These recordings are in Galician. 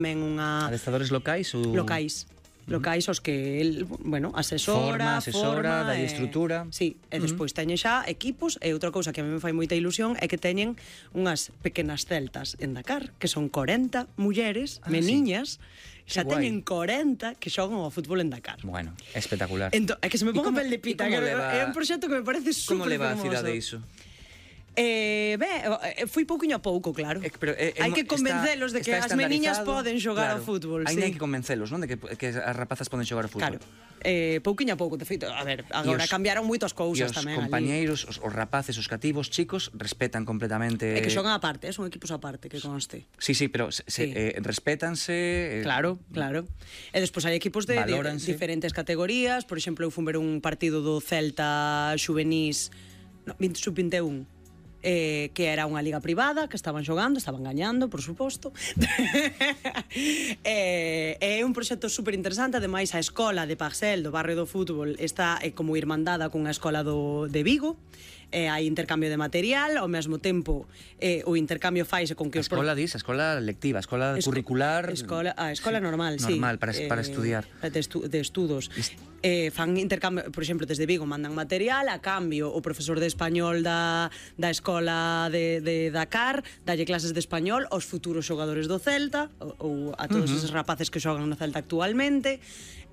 tamén unha... Adestradores locais ou... Locais os que el, bueno, asesora, forma, dalle estrutura. Sí, e despois teñen xa equipos, e outra cousa que a mí me fai moita ilusión é que teñen unhas pequenas celtas en Dakar, que son 40 mulleres, meniñas, xa teñen 40 que xogan ao fútbol en Dakar. Bueno, espectacular. É que se me pongo a pel de pita, é un proxecto que me parece Como super leva a fermoso. cidade iso? Fui pouquiño a pouco, claro. Hai que convencelos de que as meniñas poden xogar ao fútbol. Aí hai que convencelos, non? De que as rapazas poden xogar ao fútbol. Claro. Pouquiño a pouco, de feito, a ver, agora cambiaron moitas cousas tamén. E os compañeiros, os rapaces, os cativos, chicos, respetan completamente... É que xogan aparte, son equipos aparte, que conste. Sí, pero respétanse... Claro. E despois hai equipos de diferentes categorías. Por exemplo, eu fui ver un partido do Celta Xuvenís sub-21, que era unha liga privada, que estaban xogando, estaban gañando, por suposto. É un proxecto super interesante. Ademais, a escola de Parcel, do barrio do fútbol, está como irmandada cunha escola de Vigo. Hai intercambio de material, ao mesmo tempo o intercambio faise con que a escola a escola lectiva, a escola curricular... A escola normal, sí. Normal, para estudiar. De estudos. Fan intercambio, por exemplo, desde Vigo mandan material, a cambio o profesor de español da escola de Dakar dalle clases de español aos futuros xogadores do Celta ou a todos esos rapaces que xogan no Celta actualmente.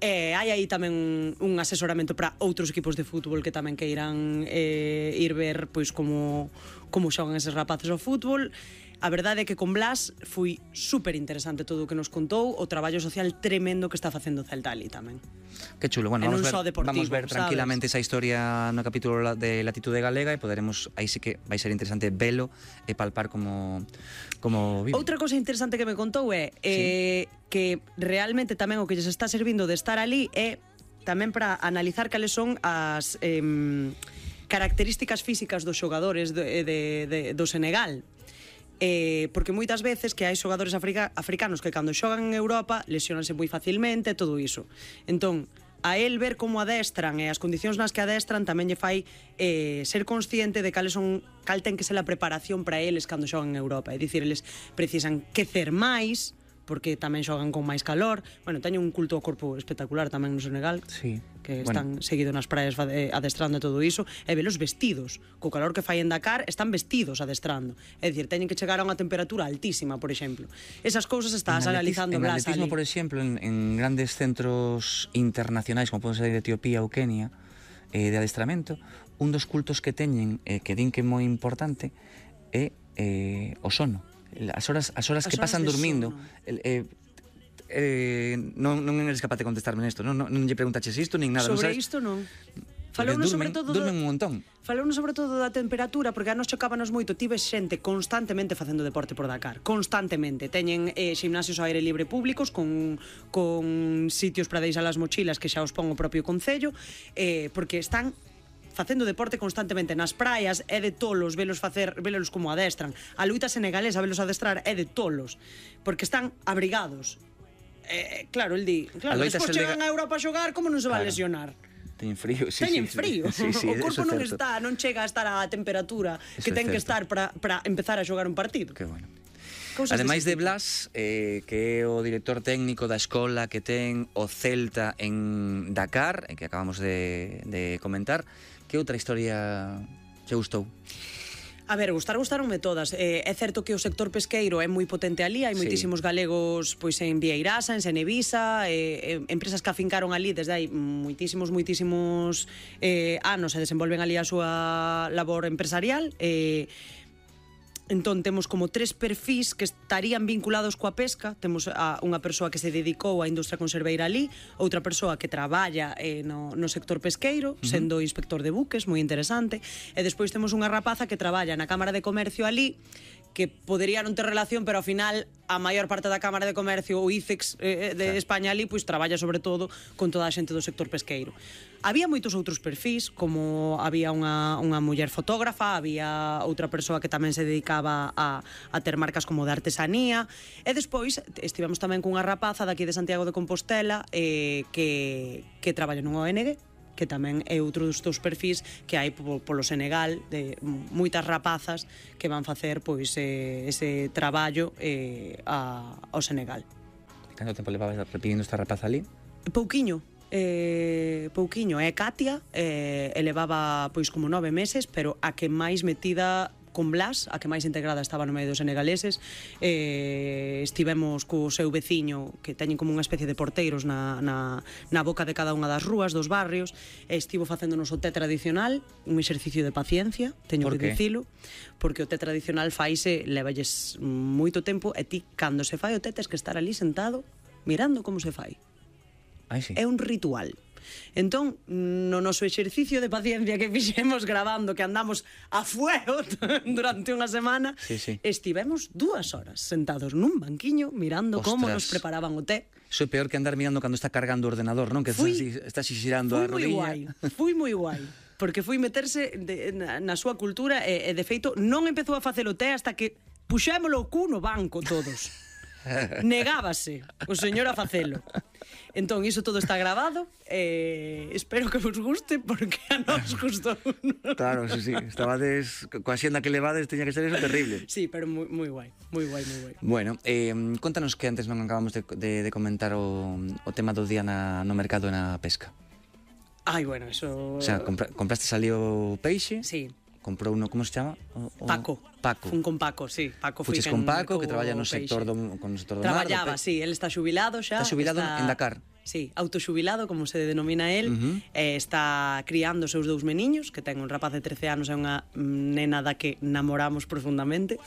Hai aí tamén un asesoramento para outros equipos de fútbol que tamén queiran ir ver pois como xogan eses rapaces ao fútbol. A verdade é que con Blas foi super interesante todo o que nos contou, o traballo social tremendo que está facendo o Celta ali tamén. Que chulo, bueno, vamos ver tranquilamente esa historia no capítulo de Latitude Galega e poderemos, aí sí que vai ser interesante velo e palpar como vive. Outra cosa interesante que me contou é que realmente tamén o que lles está servindo de estar ali é tamén para analizar cales son as características físicas dos xogadores do Senegal. Porque moitas veces que hai xogadores africanos que cando xogan en Europa lesionanse moi facilmente, todo iso. Entón, a el ver como adestran e as condicións nas que adestran tamén lle fai ser consciente de cal ten que ser a preparación para eles cando xogan en Europa. É dicir, eles precisan quecer máis, porque tamén xogan con máis calor. Bueno, teñen un culto ao corpo espectacular tamén no Senegal, que están seguidos nas praias adestrando e todo iso, e velos vestidos, co calor que fai en Dakar, están vestidos adestrando. É dicir, teñen que chegar a unha temperatura altísima, por exemplo. Esas cousas estás analizando Blas ali. En atletismo, por exemplo, en grandes centros internacionais, como poden ser de Etiopía ou Kenia, de adestramento, un dos cultos que teñen, que din que é moi importante, é o sono. As horas que pasan dormindo. Non eres capaz de contestarme nesto, non lle preguntaches isto nin nada. Sobre isto non. Falounos sobre todo durmen un montón. Falounos sobre todo da temperatura, porque a nos chocábanos moito. Tive xente constantemente facendo deporte por Dakar, constantemente. Teñen ximnasios ao aire libre públicos con sitios para deixar as mochilas que xa os pon o propio concello, porque están facendo deporte constantemente nas praias. É de tolos velos como adestran. A luita senegalesa velos adestrar é de tolos, porque están abrigados. Claro, el di, despois chegan a Europa a xogar, como non se va a lesionar? Teñen frío, Teñen frío. O corpo non chega a estar a temperatura que ten que estar para empezar a xogar un partido. Que bueno. Ademais de Blas, que é o director técnico da escola que ten o Celta en Dakar, que acabamos de comentar, que outra historia te gustou? A ver, gustaronme todas. É certo que o sector pesqueiro é moi potente ali, hai moitísimos galegos pois en Vieirasa, en Senevisa, empresas que afincaron ali desde hai moitísimos anos e desenvolven ali a súa labor empresarial. Entón, temos como 3 perfís que estarían vinculados coa pesca. Temos unha persoa que se dedicou á industria conserveira ali, outra persoa que traballa no sector pesqueiro, sendo inspector de buques, moi interesante, e despois temos unha rapaza que traballa na Cámara de Comercio ali, que podería non ter relación, pero ao final a maior parte da Cámara de Comercio, o ICEX de España ali, pois traballa sobre todo con toda a xente do sector pesqueiro. Había moitos outros perfís, como había unha muller fotógrafa, había outra persoa que tamén se dedicaba a ter marcas como de artesanía, e despois estivemos tamén cunha rapaza daqui de Santiago de Compostela que traballa nun ONG, que tamén é outro dos perfís que hai polo Senegal, de moitas rapazas que van facer pois ese traballo ao Senegal. Canto tempo levabas repetindo esta rapaza ali? Pouquiño. Pouquiño. É Katia, levaba pois como 9 meses, pero a que máis metida con Blas, a que máis integrada estaba no medio dos senegaleses. Estivemos co seu veciño, que teñen como unha especie de porteiros na boca de cada unha das rúas dos barrios. Estivo facéndonos o té tradicional, un exercicio de paciencia, teño que dicilo, porque o té tradicional faise, levalles moito tempo, e ti, cando se fai o té, tes que estar ali sentado mirando como se fai. Sí. É un ritual. Entón, no noso exercicio de paciencia que fixemos grabando, que andamos a fuego durante unha semana, estivemos 2 horas sentados nun banquiño mirando como nos preparaban o té. Iso é peor que andar mirando cando está cargando o ordenador, non? Que estás xirando a rodilla. Fui moi guai, porque fui meterse na súa cultura e de feito non empezou a facer o té hasta que puxémolo o cu no banco todos. Negábase o señor a facelo. Entón, iso todo está grabado. Espero que vos guste, porque a nos gustou. Claro, sí. Estabades coa xenda que levades, teña que ser eso terrible. Sí, pero moi guai. Moi guai. Bueno, contanos que antes non acabamos de comentar o tema do día no mercado e na pesca. Bueno, eso... O sea, compraste ali o peixe? Sí. Comprou uno, como se chama? Paco. Fun con Paco, sí. Fuches con Paco, que traballa no sector do mar. Traballaba, sí, él está xubilado xa. Está xubilado en Dakar. Sí, autoxubilado, como se denomina él. Está criando os seus 2 meniños, que ten un rapaz de 13 anos e unha nena da que namoramos profundamente,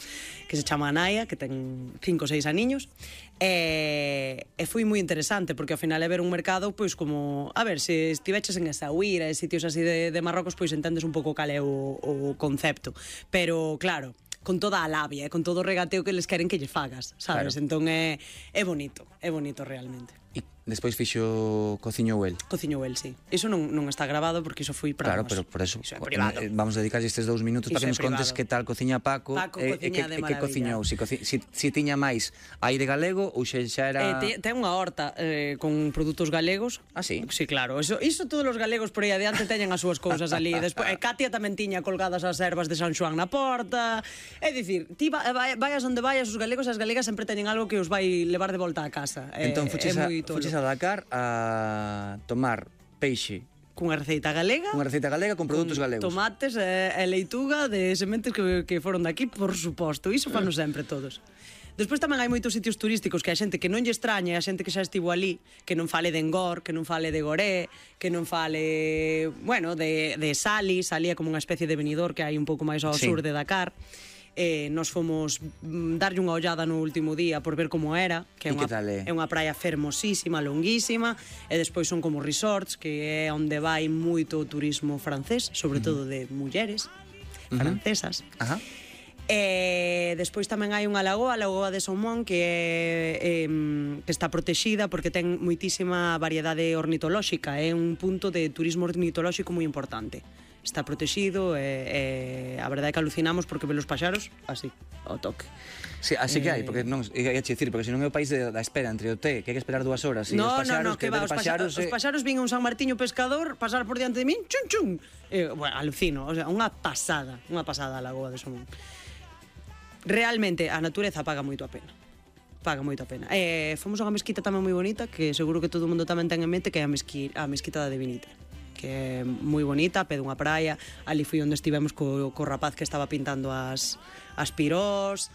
que se chama Anaya, que ten 5 ou 6 aniños. E foi moi interesante, porque ao final é ver un mercado, pois como, a ver, se estiveches en Essaouira e sitios así de Marrocos, pois entendes un pouco cal é o concepto. Pero, claro, con toda a labia, con todo o regateo que les queren que lle fagas, sabes? Claro. Entón é bonito realmente. E despois fixo cociñou el. Cociñou el, sí. Iso non está grabado porque iso foi para Claro, pero por eso é privado. Vamos a dedicar estes 2 minutos para que nos contes que tal cociña Paco e que cociñou, si tiña máis aire galego ou xa era... Ten unha horta con produtos galegos. Ah, sí? Sí, claro. Iso todos os galegos por aí adiante teñen as súas cousas ali. Despois, Katia tamén tiña colgadas as ervas de San Xoán na porta. É dicir, ti vayas onde vayas, os galegos e as galegas sempre teñen algo que os vai levar de volta a casa. Entón, fuches a Dakar a tomar peixe cunha receita galega con produtos galegos, tomates e leituga de sementes que foron daqui, por suposto. Iso fano sempre todos. Despois tamén hai moitos sitios turísticos que a xente que non lle extraña, a xente que xa estivo ali, que non fale de Engor, que non fale de Goré, que non fale, bueno, de Sali é como unha especie de Benidorm que hai un pouco máis ao sur de Dakar. Nos fomos darlle unha ollada no último día por ver como era, que é unha praia fermosísima, longuísima, e despois son como resorts, que é onde vai moito o turismo francés, sobre todo de mulleres francesas. Despois tamén hai unha lagoa, a lagoa de Somón, que está protexida porque ten moitísima variedade ornitolóxica, é un punto de turismo ornitolóxico moi importante. Está protegido e a verdade é que alucinamos porque ve os paxaros así, ao toque. Sí, así que hai, porque non, ia che dicir, porque senón é o país da espera entre o té, que hai que esperar 2 horas, e no, os paxaros, que va, os paxaros vin un San Martiño pescador pasar por diante de min, chun chun. Bueno, alucino, o sea, unha pasada a lagoa de Somón. Realmente a natureza paga moito a pena. Fomos a unha mesquita tamén moi bonita, que seguro que todo o mundo tamén ten en mente, que é a mesquita da Divinita, que é moi bonita, pé dunha praia. Ali foi onde estivemos co rapaz que estaba pintando as pirós.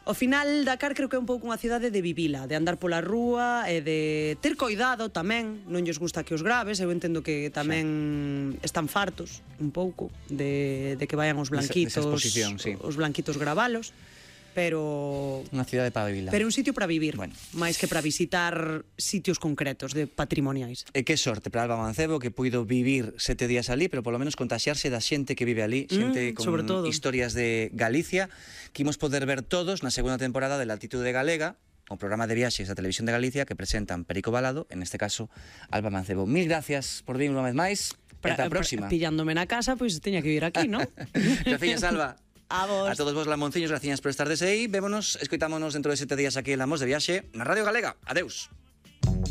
Ao final, Dakar creo que é un pouco unha cidade de vivila, de andar pola rúa e de ter coidado tamén. Non lles gusta que os graves, eu entendo que tamén están fartos un pouco de que vayan os blanquitos, os blanquitos gravalos. Pero unha cidade para vivir. Pero un sitio para vivir, máis que para visitar sitios concretos de patrimoniais. E que sorte para Alba Mancebo, que puido vivir 7 días ali, pero polo menos contaxiarse da xente que vive ali, xente con historias de Galicia, que imos poder ver todos na segunda temporada de Latitude Galega, o programa de viaxes da Televisión de Galicia que presentan Perico Balado, en este caso Alba Mancebo. Mil gracias por vir unha vez máis. Ata a próxima. Pillándome na casa, pois teña que vir aquí, non? Gracias, Alba. A vos. A todos vos, lamonciños, gracias por estar desde aí. Vémonos, escoitámonos dentro de 7 días aquí en Lamos de Viaxe na Radio Galega. Adeus.